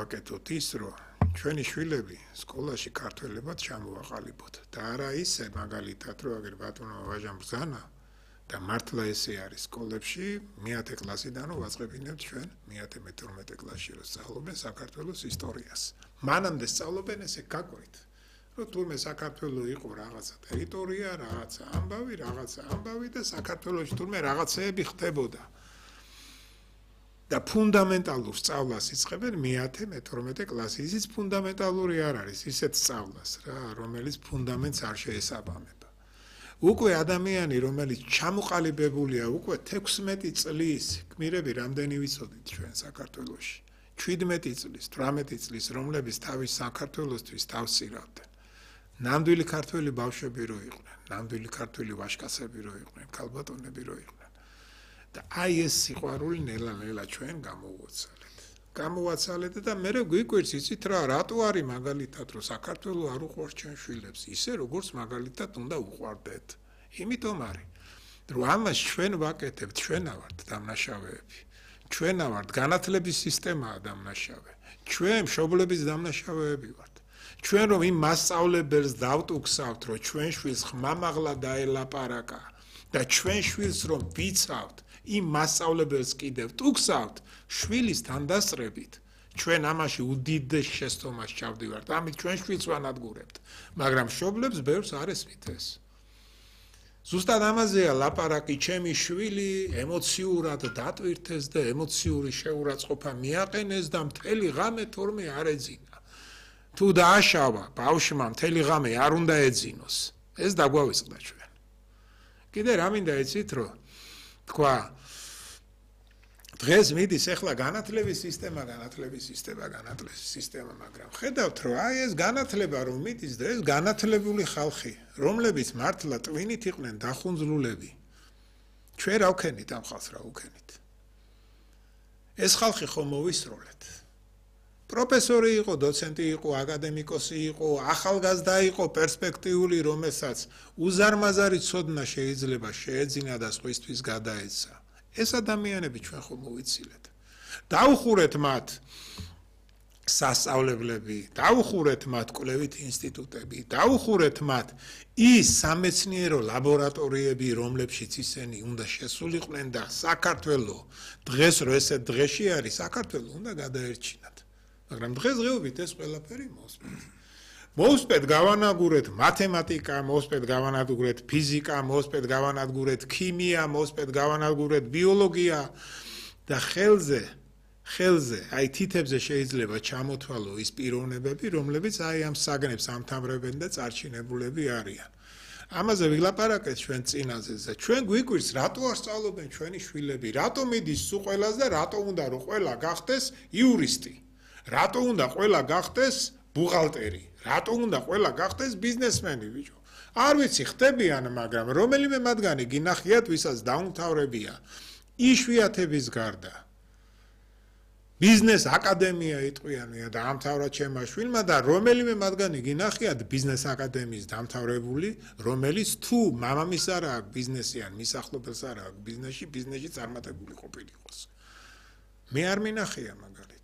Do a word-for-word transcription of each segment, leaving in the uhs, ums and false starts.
გავაკეთოთ ის, რომ ჩვენი შვილები სკოლაში ქართველებად ჩამოვაყალიბოთ და არა ისე მაგალითად, რომ აგერ ბატონო ვაჟამ ბრძანა და მართლა ესე არის სკოლებში მეათე კლასიდან რომ ვაწყებინებთ ჩვენ მეათე მეთორმეტე კლასში რომ სწავლობენ საქართველოს ისტორიას. მანამდე სწავლობენ ესე გაკვირთ, რომ თურმე საქართველო იყო რაღაცა ტერიტორია, რაღაცა ამბავი, რაღაცა ამბავი და საქართველოში თურმე რაღაცეები ხდებოდა. და ფუნდამენტალურ სწავლას იწყებენ მეათე მეთორმეტე კლასში. ისიც ფუნდამენტალური არ არის, ისეთ სწავლას რა, რომელიც ფუნდამენტს არ შეესაბამება. უკვე ადამიანი, რომელიც ჩამოყალიბებულია, უკვე თექვსმეტი წლის, გმირები რამდენი ვიცოდით ჩვენ საქართველოში? შვიდმეტი წლის, თვრამეტი წლის, რომლებიც თავის საქართველოსთვის თავს ცირავდნენ. ნამდვილი ქართველი ბავშვები რო იყვნენ, ნამდვილი ქართველი ვაჟკაცები რო იყვნენ, ქალბატონები რო იყვნენ. და აი ეს სიყვარული ნელა-ნელა ჩვენ გამოვაცალეთ. გამოვაცალეთ და მე გვიკვირს იცით რა, რატო არის მაგალითად რომ საქართველო არ უყვარს ჩვენ შვილებს, ისე როგორც მაგალითად უნდა უყვარდეთ. იმიტომ არის, რომ ამას ჩვენ ვაკეთებთ, ჩვენა ვართ დამნაშავეები. ჩვენა ვართ განათლების სისტემაა დამნაშავე. ჩვენ მშობლების დამნაშავეები ვართ. ჩვენ რომ იმ მასწავლებელს დავტუქსავთ, რომ ჩვენ შვილს ხმამაღლა დაელაპარაკა და ჩვენ შვილს რომ ვიცავთ, იმ მასწავლებელს კიდევ ტუქსავთ, შვილის თანდასწრებით. ჩვენ ამაში უდიდეს შესწომას ჩავდივართ, ამით ჩვენ შვილს ვანადგურებთ, მაგრამ მშობლებს ბევრს არ ესმით ეს. ზუსტად ამაზეა ლაპარაკი, ჩემი შვილი ემოციურად დატვირთეს და ემოციური შეურაცხყოფა მიაყენეს და მთელი ღამე თორმე არ ეძინა. თუ დააშავა ბავშვმა მთელი ღამე არ უნდა ეძინოს. ეს დაგვავიწყდა ჩვენ. კიდე რა მინდა იცით, რომ თქვა დღეს მიდის ახლა განათლების სისტემა, განათლების სისტემა, განათლების სისტემა, მაგრამ ხედავთ, რომ აი ეს განათლება რომ მიდის დღეს განათლებული ხალხი, რომლებიც მართლა ტვინით იყვნენ დახუნძლულები. ჩვენ რა ვქენით ამ ხალხს რა ვქენით? ეს ხალხი ხომ მოვისროლეთ. პროფესორი იყო, დოცენტი იყო, აკადემიკოსი იყო, ახალგაზრდა იყო, პერსპექტიული, რომელსაც უზარმაზარი ცოდნა შეიძლება შეეძინა და სხვისთვის გადაეცა. ეს ადამიანები ჩვენ ხომ მოვიცილეთ. დაუხურეთ მათ სასწავლებლები, დაუხურეთ მათ კვლევით ინსტიტუტები, დაუხურეთ მათ ის სამეცნიერო ლაბორატორიები, რომლებშიც ისინი უნდა შესულიყვნენ და საქართველო დღეს რო ესე დღეში არის, საქართველო უნდა გადაერჩინათ. მაგრამ დღესდღეობით ეს ყველაფერი მოსპეთ. მოსპეთ გავანადგურეთ მათემატიკა, მოსპეთ გავანადგურეთ ფიზიკა, მოსპეთ გავანადგურეთ ქიმია, მოსპეთ გავანადგურეთ ბიოლოგია და ხელზე, ხელზე, აი თითებზე შეიძლება ჩამოთვალო ის პიროვნებები, რომლებიც აი ამ საგნებს ამთავრებენ და წარჩინებულები არიან. ამაზე ვილაპარაკეთ ჩვენ წინაზე და ჩვენ გვიკვირს, რატო არ სწავლობენ ჩვენი შვილები, რატო მიდის სულ ყველას და რატო უნდა რომ ყველა გახდეს იურისტი. რატო უნდა ყველა გახდეს ბუღალტერი, რატო უნდა ყველა გახდეს ბიზნესმენი, ბიჭო. არ ვიცი, ხდებიან, მაგრამ რომელიმე მათგანი გინახიათ, ვისაც დაუმთავრებია იშვიათების გარდა. ბიზნეს აკადემია იტყვიანია და ამთავრა ჩემმა შვილმა და რომელიმე მათგანი გინახიათ ბიზნეს აკადემიის დამთავრებული, რომელიც თუ მამამის არ აქვს ბიზნესი ან მისახლობელს არ აქვს ბიზნესში, ბიზნესში წარმატებული ყოფილიყოს. მე არ მინახია მაგალითად.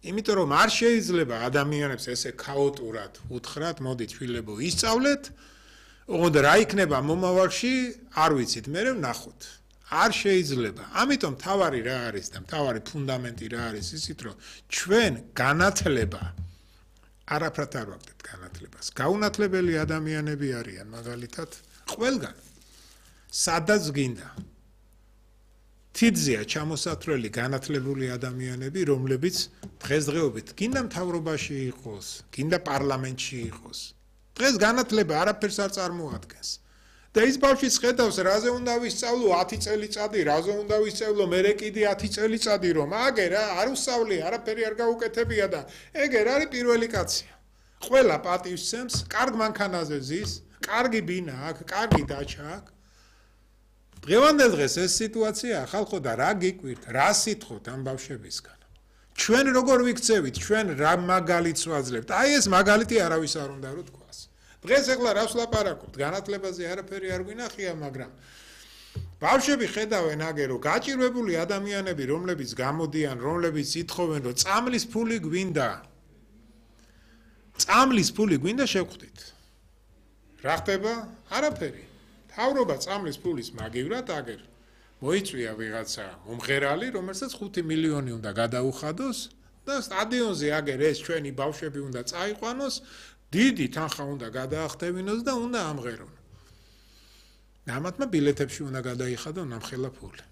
იმიტომ რომ არ შეიძლება ადამიანებს ესე ქაოტურად უთხრათ, მოდით შვილებო ისწავლეთ, ოღონდ რა იქნება მომავალში, არ ვიცით, მე ვნახოთ. არ შეიძლება. ამიტომ თავარი რა არის და თავარი ფუნდამენტი რა არის ისიც, რომ ჩვენ განათლება არაფრად არ ვაკეთებთ განათლებას. გაუნათლებელი ადამიანები არიან მაგალითად ყველგან. სადაც გინდა. თიძია ჩამოსათვლელი განათლებული ადამიანები, რომლებიც დღესდღეობით გინდა მთავრობაში იყოს, გინდა პარლამენტში იყოს. დღეს განათლება არაფერს არ წარმოადგენს. და ის ბავშვიც ხედავს, რაზე უნდა ვისწავლო ათი წელიწადი, რაზე უნდა ვისწავლო მერე კიდე ათი წელიწადი, რომ აგე რა, არ უსწავლე, არაფერი არ გაუკეთებია და ეგერ არის პირველი კაცია. ყველა პატივს სცემს, კარგ მანქანაზე ზის, კარგი ბინა აქვს, კარგი დაჩა აქვს. დღევანდელ დღეს ეს სიტუაცია ხალხო და რა გიკვირთ, რა სიტყვით ამ ბავშვებისგან. ჩვენ როგორ ვიქცევით, ჩვენ რა მაგალითს ვაძლევთ. აი ეს მაგალითი არავის არ უნდა რომ თქვას. დღეს ეხლა რას ვლაპარაკობთ, განათლებაზე არაფერი არ გვინახია, მაგრამ ბავშვები ხედავენ აგერ რომ გაჭირვებული ადამიანები რომლებიც გამოდიან, რომლებიც ითხოვენ რომ წამლის ფული გვინდა. წამლის ფული გვინდა შევხვდით. რა ხდება? არაფერი. თავრობა წამლის ფულის მაგივრად აგერ მოიწვია ვიღაცა მომღერალი, რომელსაც ხუთი მილიონი უნდა გადაუხადოს და სტადიონზე აგერ ეს ჩვენი ბავშვები უნდა წაიყვანოს, დიდი თანხა უნდა გადაახტევინოს და უნდა ამღერონ. ამათმა ბილეთებში უნდა გადაიხადონ ამხელა ფული.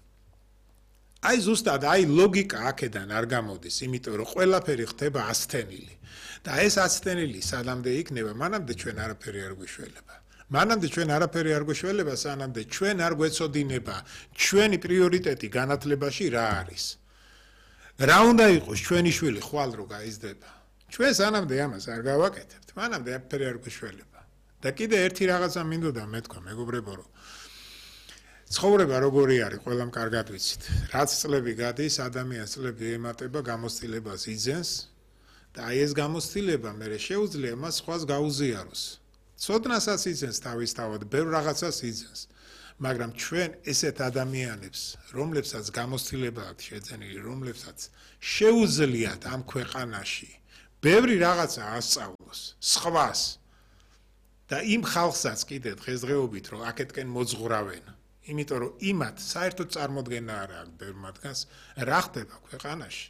აი ზუსტად აი ლოგიკა აქედან არ გამოდის, იმიტომ რომ ყველაფერი ხდება ასთენილი. და ეს ასთენილი სანამდე იქნება, მანამდე ჩვენ არაფერი არ გვიშველება. მანამდე ჩვენ არაფერი არ გვიშველება, სანამდე ჩვენ არ გვეცოდინება ჩვენი პრიორიტეტი განათლებაში რა არის. რა უნდა იყოს ჩვენი შვილი ხვალ რო გაიზრდება. ჩვენ სანამდე ამას არ გავაკეთებთ, მანამდე არაფერი არ გვიშველება. და კიდე ერთი რაღაცა მინდოდა მეთქვა, მეგობრებო, რომ ცხოვრება როგორი არის, ყველამ კარგად ვიცით. რაც წლები გადის, ადამიანს წლები ემატება, გამოცდილებას იძენს და აი ეს გამოცდილება მე შეუძლია მას სხვას გაუზიაროს. ცოდნასაც იძენს თავისთავად, ბევრ რაღაცას იძენს. მაგრამ ჩვენ ესეთ ადამიანებს, რომლებსაც გამოცდილება აქვს შეძენილი, რომლებსაც შეუძლიათ ამ ქვეყანაში ბევრი რაღაცა ასწავლოს, სხვას და იმ ხალხსაც კიდე დღესდღეობით რომ აქეთკენ მოძღურავენ. იმიტომ რომ იმათ საერთოდ წარმოდგენა არ აქვს ბევრ მათგანს რა ხდება ქვეყანაში.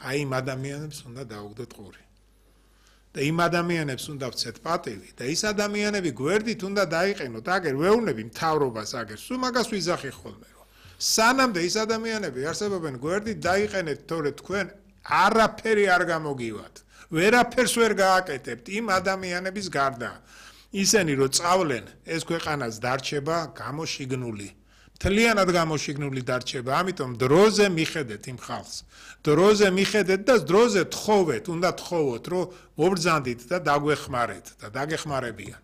აი იმ ადამიანებს უნდა დაუგდოთ ყური. და იმ ადამიანებს უნდა ვცეთ პატივი და ის ადამიანები გვერდით უნდა დაიყენოთ, აგერ ვეუბნები მთავრობას აგერ, სულ მაგას ვიზახი ხოლმე რომ სანამდე ის ადამიანები არსებობენ გვერდით დაიყენეთ, თორე თქვენ არაფერი არ გამოგივათ. ვერაფერს ვერ გააკეთებთ იმ ადამიანების გარდა. ისენი რომ წავლენ, ეს ქვეყანას დარჩება გამოშიგნული. მთლიანად გამოშიგნული დარჩება, ამიტომ დროზე მიხედეთ იმ ხალხს. დროზე მიხედეთ და დროზე თხოვეთ, უნდა თხოვოთ, რომ მობრძანდით და დაგვეხმარეთ და დაგეხმარებიან.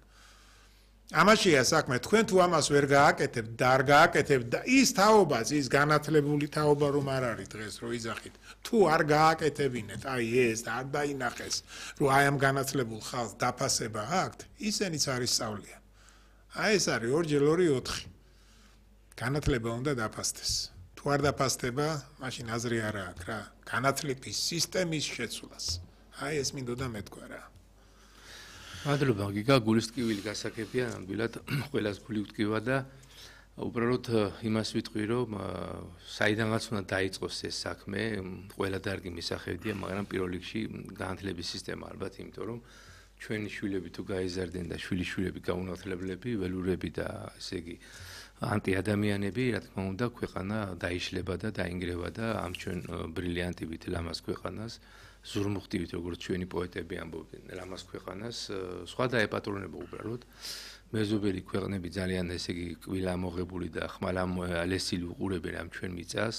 ამაშია საქმე, თქვენ თუ ამას ვერ გააკეთებთ და არ გააკეთებთ და ის თაობაც, ის განათლებული თაობა რომ არ არის დღეს რო იძახით, თუ არ გააკეთებინეთ, აი ეს და არ დაინახეს, რომ აი ამ განათლებულ ხალხს დაფასება აქვთ, ისენიც არის სწავლია. აი ეს არის ორჯერ ორი ოთხი. განათლება უნდა დაფასდეს. თუ არ დაფასდება, მაშინ აზრი არ აქვს რა, განათლების სისტემის შეცვლას. აი ეს მინდოდა მეთქვა რა. მადლობა გიგა, გულის ტკივილი გასაგებია, ნამდვილად ყველას გული ვტკივა და უბრალოდ იმას ვიტყვი, რომ საიდანაც უნდა დაიწყოს ეს საქმე, ყველა დარგი მისახევდია, მაგრამ პირველ რიგში განათლების სისტემა ალბათ, იმიტომ რომ ჩვენი შვილები თუ გაიზარდნენ და შვილიშვილები გაუნათლებლები, ველურები და ესე იგი ანტიადამიანები, რა თქმა უნდა, ქვეყანა დაიშლება და დაინგრევა და ამ ჩვენ ბრილიანტივით ლამაზ ქვეყანას, ზურმუხტივით როგორც ჩვენი პოეტები ამბობდნენ, ლამაზ ქვეყანას, სხვა დაეპატრონება უბრალოდ. მეზობელი ქვეყნები ძალიან ესე იგი კვილა მოღებული და ხმალალესილი უყურებენ ამ ჩვენ მიწას.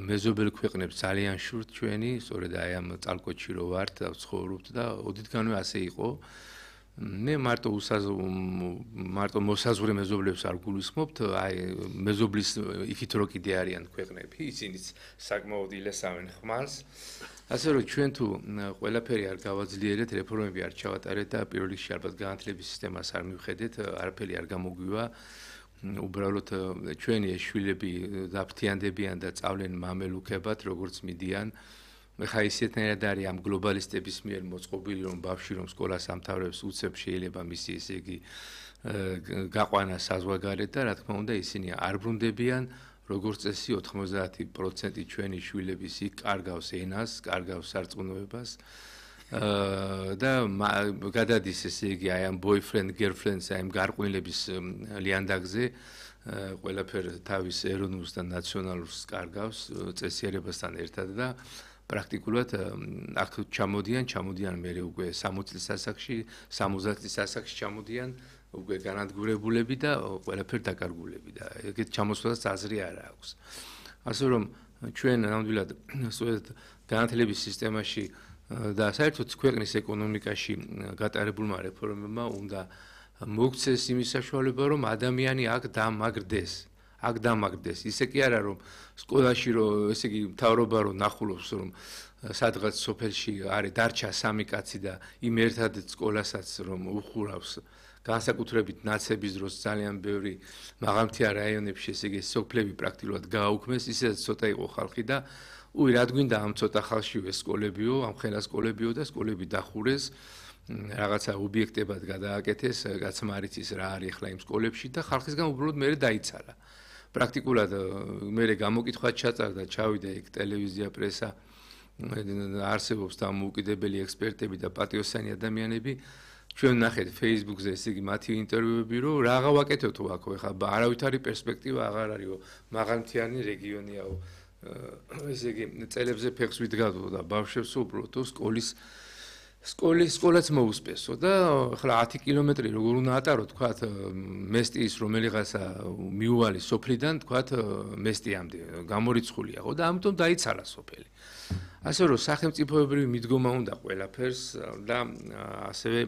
მეზობელ ქვეყნებს ძალიან შურთ ჩვენი, სწორედ აი ამ წალკოჩი რო ვართ და ვცხოვრობთ და ოდითგანვე ასე იყო. მე მარტო მარტო მოსაზღვრე მეზობლებს არ გულისხმობთ, აი მეზობლის იქით რო კიდე არიან ქვეყნები, ისინიც საკმაოდ ილესავენ ხმალს. ასე რომ ჩვენ თუ ყველაფერი არ გავაძლიერეთ, რეფორმები არ ჩავატარეთ და პირველ რიგში ალბათ განათლების სისტემას არ მივხედეთ, არაფერი არ გამოგვივა. უბრალოდ ჩვენი ეს შვილები დაფრთიანდებიან და წავლენ მამელუქებად, როგორც მიდიან. ხა ისეთნაირად არის ამ გლობალისტების მიერ მოწყობილი, რომ ბავშვი რომ სკოლას ამთავრებს, უცებ შეიძლება მისი ესე იგი გაყვანა საზღვარგარეთ და რა თქმა უნდა ისინი არ ბრუნდებიან. როგორც წესი ოთხმოცდაათი პროცენტი ჩვენი შვილების იქ კარგავს ენას, კარგავს სარწმუნოებას და გადადის ესე იგი აი ამ boyfriend girlfriends აი ამ გარყვნილების ლიანდაგზე ყველაფერ თავის ეროვნულს და ნაციონალურს კარგავს წესიერებასთან ერთად და პრაქტიკულად აქ ჩამოდიან, ჩამოდიან მე უკვე სამოცი წლის ასაკში, სამოცდაათი წლის ასაკში ჩამოდიან უკვე განადგურებულები და ყველაფერ დაკარგულები და ეგეთ ჩამოსვლას აზრი არ აქვს. ასე რომ ჩვენ ნამდვილად სწორედ განათლების სისტემაში და საერთოდ ქვეყნის ეკონომიკაში გატარებულმა რეფორმებმა უნდა მოგცეს იმის საშუალება, რომ ადამიანი აქ დამაგრდეს. აქ დამაგრდეს. ისე კი არა რომ სკოლაში რომ ესე იგი მთავრობა რომ ნახულობს რომ სადღაც სოფელში არის დარჩა სამი კაცი და იმ ერთად სკოლასაც რომ უხურავს განსაკუთრებით ნაცების დროს ძალიან ბევრი მაღალმთიან რაიონებში ესე იგი სოფლები პრაქტიკულად გააუქმეს, ისედაც ცოტა იყო ხალხი და უი რა გვინდა ამ ცოტა ხალხშივე სკოლებიო, ამ ხელა სკოლებიო და სკოლები დახურეს, რაღაცა ობიექტებად გადააკეთეს, კაცმა არ იცის რა არის ახლა იმ სკოლებში და ხალხისგან უბრალოდ მე დაიცალა. პრაქტიკულად მე გამოკითხვა ჩაწარდა, ჩავიდა იქ ტელევიზია, პრესა, არსებობს დამოუკიდებელი ექსპერტები და პატიოსანი ადამიანები. ჩვენ ნახეთ Facebook-ზე ესე იგი მათი ინტერვიუები, რომ რაღა ვაკეთოთ აქ, ხა არავითარი პერსპექტივა აღარ არისო, მაღალმთიანი რეგიონიაო. ესე იგი წელებზე ფეხს ვიდგადო და ბავშვებს უბრალოდ სკოლის სკოლის სკოლაც მოუსპესო და ახლა ათი კილომეტრი როგორ უნდა ატარო თქვათ მესტიის რომელიღაცა მიუვალი სოფლიდან თქვათ მესტიამდე გამორიცხულია ხო და ამიტომ დაიცალა სოფელი. ასე რომ სახელმწიფოებრივი მიდგომა უნდა ყველაფერს და ასევე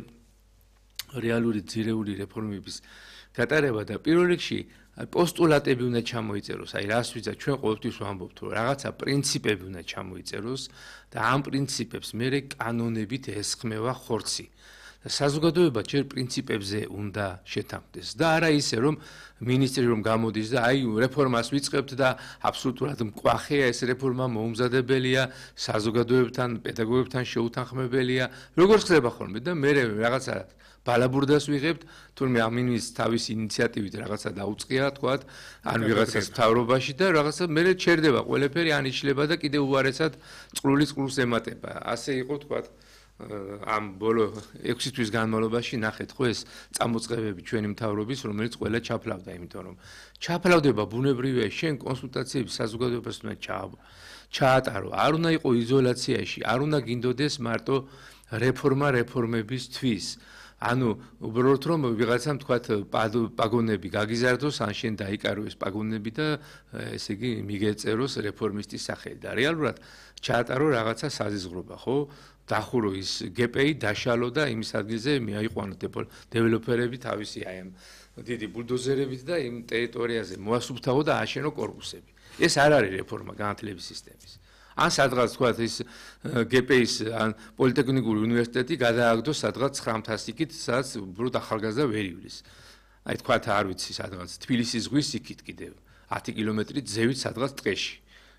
რეალური ძირეული რეფორმების გატარება და პირველ რიგში პოსტულატები უნდა ჩამოიწეროს, აი რას ვიძა ჩვენ ყოველთვის ვამბობთ, რომ რაღაცა პრინციპები უნდა ჩამოიწეროს და ამ პრინციპებს მერე კანონებით ესხმევა ხორცი. და საზოგადოება ჯერ პრინციპებზე უნდა შეთანხმდეს და არა ისე რომ მინისტრი რომ გამოდის და აი რეფორმას ვიწყებთ და აბსოლუტურად მკვახეა ეს რეფორმა მოუმზადებელია, საზოგადოებთან, პედაგოგებთან შეუთანხმებელია. როგორ ხდება ხოლმე და მე რაღაცა ბალაბურდას ვიღებთ, თურმე ამინის თავის ინიციატივით რაღაცა დაუწყია, თქვათ, ან ვიღაცას მთავრობაში და რაღაცა მე ჩერდება ყველაფერი ანიშლება და კიდე უარესად წყლული წყლს ემატება. ასე იყო, თქვათ, ამ ბოლო ექვსი თვის განმავლობაში ნახეთ ხო ეს წამოწყებები ჩვენი მთავრობის, რომელიც ყველა ჩაფლავდა, იმიტომ რომ ჩაფლავდება ბუნებრივია, შენ კონსულტაციები საზოგადოებას უნდა ჩაატარო, არ უნდა იყო იზოლაციაში, არ უნდა გინდოდეს მარტო რეფორმა რეფორმებისთვის. ანუ უბრალოდ რომ ვიღაცამ თქვათ პაგონები გაგიზარდოს, ან შენ დაიკარო ეს პაგონები და ესე იგი მიგეწეროს რეფორმისტის სახელი და რეალურად ჩაატარო რაღაცა საზიზღრობა, ხო? დახურო ის გპ-ი დაშალო და იმის ადგილზე მიაიყვანო დეველოპერები თავისი აი ამ დიდი ბულდოზერებით და იმ ტერიტორიაზე მოასუფთავო და აშენო კორპუსები. ეს არ არის რეფორმა განათლების სისტემის. ან სადღაც თქვათ ის გპ-ის ან პოლიტექნიკური უნივერსიტეტი გადააგდო სადღაც ცხრამთას იქით, სადაც უბრალოდ ახალგაზრდა ვერ ივლის. აი თქვათ არ ვიცი სადღაც თბილისის ზღვის იქით კიდევ ათი კილომეტრი ძევით სადღაც ტყეში.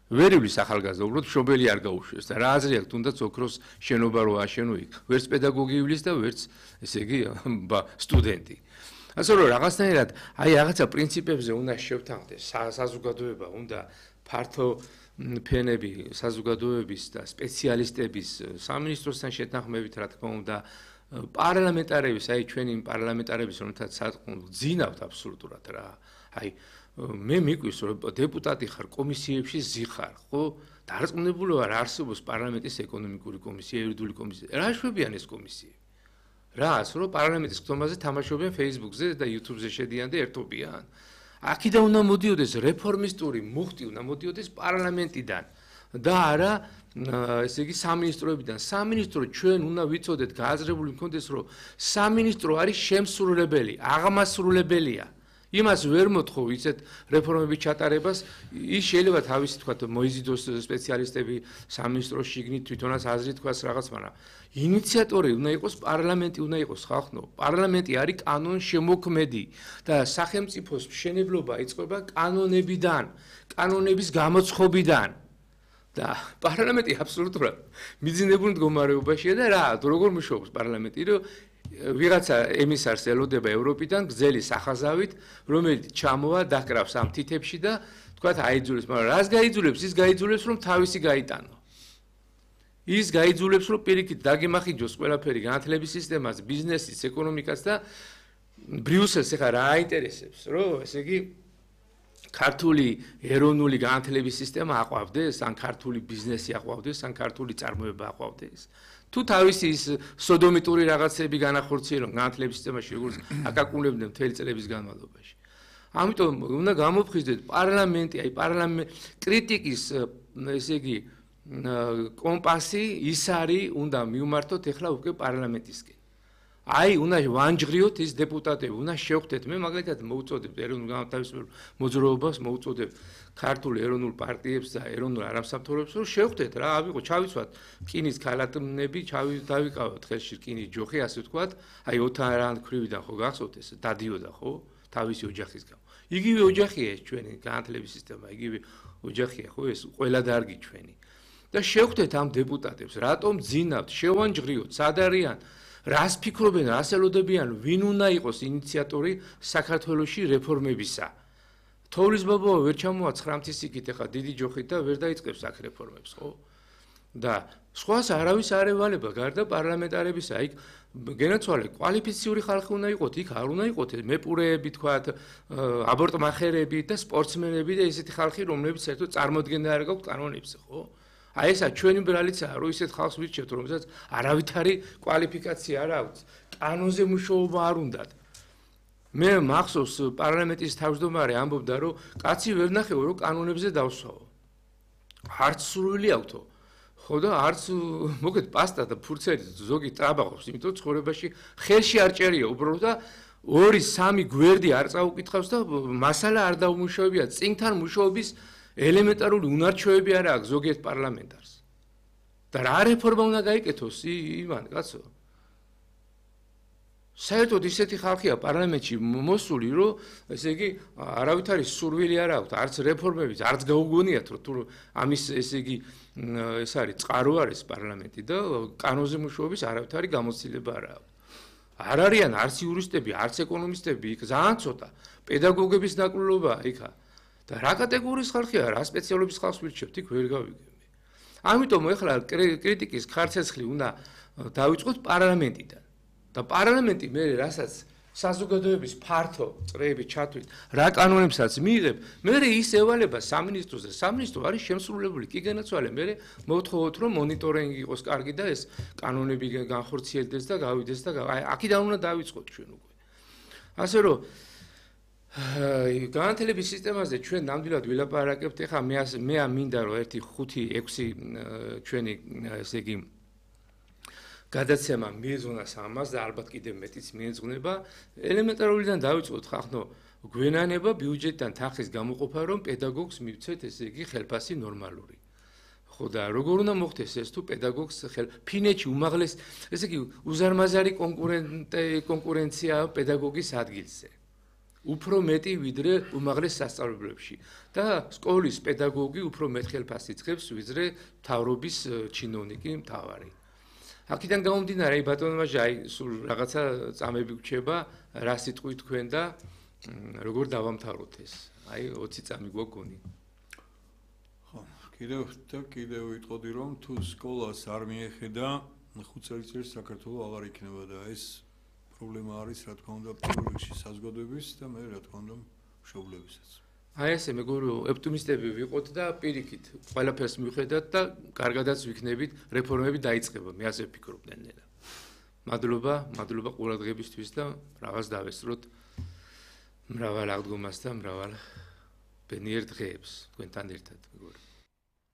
ვერ ივლის ახალგაზრდა, უბრალოდ მშობელი არ გაუშვეს და რა აზრი აქვს თუნდაც ოქროს შენობა რო აშენო იქ. ვერც პედაგოგი ივლის და ვერც ესე იგი სტუდენტი. ასე რომ რაღაცნაირად აი რაღაცა პრინციპებზე უნდა შევთანხმდეს საზოგადოება, უნდა ფართო ფენები საზოგადოების და სპეციალისტების სამინისტროსთან შეთანხმებით, რა თქმა უნდა, პარლამენტარების, აი ჩვენი პარლამენტარების, რომელთაც გძინავთ აბსოლუტურად რა. აი მე მიყვის რომ დეპუტატი ხარ, კომისიებში ზიხარ, ხო? დარწმუნებული ვარ, არსებობს პარლამენტის ეკონომიკური კომისია, იურიდიული კომისია. რა შვებიან ეს კომისიები? რას, რომ პარლამენტის ხტომაზე თამაშობენ Facebook-ზე და YouTube-ზე შედიან და ერთობიან. აქედან უნდა მოდიოდეს რეფორმისტური მუხტი, უნდა მოდიოდეს პარლამენტიდან და არა ესე იგი სამინისტროებიდან. სამინისტრო ჩვენ უნდა ვიცოდეთ, გააზრებული მქონდეს, რომ სამინისტრო არის შემსრულებელი, აღმასრულებელია. იმას ვერ მოთხოვ ისეთ რეფორმების ჩატარებას, ის შეიძლება თავისი თქვათ მოიზიდოს სპეციალისტები სამინისტროს შიგნით თვითონაც აზრი თქვას რაღაც, მაგრამ ინიციატორი უნდა იყოს პარლამენტი, უნდა იყოს ხალხო. პარლამენტი არის კანონშემოქმედი და სახელმწიფოს მშენებლობა იწყება კანონებიდან, კანონების გამოცხობიდან. და პარლამენტი აბსოლუტურად მიძინებული მდგომარეობაშია და რა, როგორ მუშაობს პარლამენტი, რომ ვიღაცა ემისარს ელოდება ევროპიდან გრძელი სახაზავით, რომელიც ჩამოვა დაკრავს ამ თითებში და თქვათ აიძულებს, მაგრამ რას გაიძულებს? ის გაიძულებს, რომ თავისი გაიტანო. ის გაიძულებს, რომ პირიქით დაგემახინჯოს ყველაფერი განათლების სისტემას, ბიზნესის, ეკონომიკას და ბრიუსელს ეხა რა აინტერესებს, რომ ესე იგი ქართული ეროვნული განათლების სისტემა აყვავდეს, ან ქართული ბიზნესი აყვავდეს, ან ქართული წარმოება აყვავდეს. თუ თავისი ის სოდომიტური რაღაცები განახორციელონ განათლების სისტემაში, როგორც აკაკუნებდნენ მთელი წლების განმავლობაში. ამიტომ უნდა გამოფხიზდეთ პარლამენტი, აი პარლამენტ კრიტიკის ესე იგი კომპასი ის არის, უნდა მიუმართოთ ეხლა უკვე პარლამენტისკენ. აი, უნდა ვანჯღრიოთ ის დეპუტატები, უნდა შევხვდეთ, მე მაგალითად მოუწოდებ ეროვნულ განმათავისუფლებელ მოძრაობას, მოუწოდებ ქართულ ეროვნულ პარტიებს და ეროვნულ არამსამთავროებს, რომ შევხვდეთ რა, ავიღო, ჩავიცვათ რკინის ქალატნები, დავიკავოთ ხელში რკინის ჯოხი, ასე ვთქვათ, აი ოთარ ქვრივიდან ხო გახსოვთ ეს დადიოდა ხო, თავისი ოჯახის გამო. იგივე ოჯახია ეს ჩვენი განათლების სისტემა, იგივე ოჯახია ხო ეს ყველა დარგი ჩვენი. და შევხვდეთ ამ დეპუტატებს, რატომ ძინავთ, შევანჯღრიოთ, სად არიან, რას ფიქრობენ, რას ელოდებიან, ვინ უნდა იყოს ინიციატორი საქართველოში რეფორმებისა. თოვლის ბაბავა ვერ ჩამოვა ცხრამთის იქით, ეხა დიდი ჯოხით და ვერ დაიწყებს აქ რეფორმებს, ხო? და სხვას არავის არ ევალება, გარდა პარლამენტარებისა, იქ გენაცვალე კვალიფიციური ხალხი უნდა იყოთ, იქ არ უნდა იყოთ მეპურეები, თქვათ, აბორტმახერები და სპორტსმენები და ესეთი ხალხი, რომლებიც საერთოდ წარმოდგენა არ გაქვთ კანონებზე, ხო? აი ესა ჩვენი ბრალიცაა, რომ ისეთ ხალხს ვირჩევთ, რომელსაც არავითარი კვალიფიკაცია არ აქვს, კანონზე მუშაობა არ უნდათ. მე მახსოვს პარლამენტის თავმჯდომარე ამბობდა, რომ კაცი ვერ ნახეო, რომ კანონებზე დავსვაო. არც სურვილი აქვთო. ხო და არც მოგეთ პასტა და ფურცელი ზოგი ტრაბაღობს, იმიტომ ცხოვრებაში ხელში არ ჭერია უბრალოდ და ორი სამი გვერდი არ წაუკითხავს და მასალა არ დაუმუშავებია, წინთან მუშაობის ელემენტარული უნარჩვევები არ აქვს ზოგიერთ პარლამენტარს. და რა რეფორმა უნდა გაიკეთოს ივან კაცო? საერთოდ ისეთი ხალხია პარლამენტში მოსული, რომ ესე იგი არავითარი სურვილი არ აქვს, არც რეფორმების, არც გაუგონიათ, რომ თუ ამის ესე იგი ეს არის წყარო არის პარლამენტი და კანონზე მუშაობის არავითარი გამოცდილება არ აქვს. არ არიან არც იურისტები, არც ეკონომისტები, იქ ძალიან ცოტა პედაგოგების ნაკვლელობაა იქა. და რა კატეგორიის ხალხია, რა სპეციალობის ხალხს ვირჩევთ, იქ ვერ გავიგებთ. ამიტომ ეხლა კრიტიკის ხარცეცხლი უნდა დავიწყოთ პარლამენტიდან. და პარლამენტი მე რასაც საზოგადოების ფართო წრეები ჩათვლით, რა კანონებსაც მიიღებ, მე ის ევალება სამინისტროს და სამინისტრო არის შემსრულებელი, კი განაცვალე, მე მოვთხოვოთ, რომ მონიტორინგი იყოს კარგი და ეს კანონები განხორციელდეს და გავიდეს და აი აქედან უნდა დავიწყოთ ჩვენ უკვე. ასე რომ განათლების სისტემაზე ჩვენ ნამდვილად ვილაპარაკებთ, ეხლა მე მე მინდა რომ ერთი ხუთი ექვსი ჩვენი ესე იგი გადაცემა მიეძღვნას ამას და ალბათ კიდევ მეტიც მიეძღვნება, ელემენტარულიდან დავიწყოთ ხახნო გვენანება ბიუჯეტიდან თანხის გამოყოფა, რომ პედაგოგს მივცეთ ესე იგი ხელფასი ნორმალური. ხო და როგორ უნდა მოხდეს ეს თუ პედაგოგს ხელ ფინეთში უმაღლეს ესე იგი უზარმაზარი კონკურენცია პედაგოგის ადგილზე. უფრო მეტი ვიდრე უმაღლეს სასწავლებლებში და სკოლის პედაგოგი უფრო მეტ ხელფასს იწყებს ვიდრე მთავრობის ჩინოვნიკი მთავარი. აქედან გამომდინარე, ბატონო მაჟე, აი სულ რაღაცა წამები გვჩება, რა სიტყვი თქვენ და როგორ დავამთავროთ ეს? აი ოცი წამი გვაგონი. ხო, კიდევ და კიდევ ვიტყოდი, რომ თუ სკოლას არ მიეხედა, ხუთ წელიწადში საქართველოს აღარ იქნება და ეს პრობლემა არის, რა თქმა უნდა, პირველ რიგში საზოგადოების და მე რა თქმა უნდა, მშობლებისაც. აი ესე მეგობრებო, ოპტიმისტები ვიყოთ და პირიქით ყველაფერს მივხედათ და კარგადაც ვიქნებით, რეფორმები დაიწყება, მე ასე ვფიქრობ ნელა. მადლობა, მადლობა ყურადღებისთვის და რაღაც დავესწროთ მრავალ აღდგომას და მრავალ ბედნიერ დღეებს თქვენთან ერთად, მეგობრებო.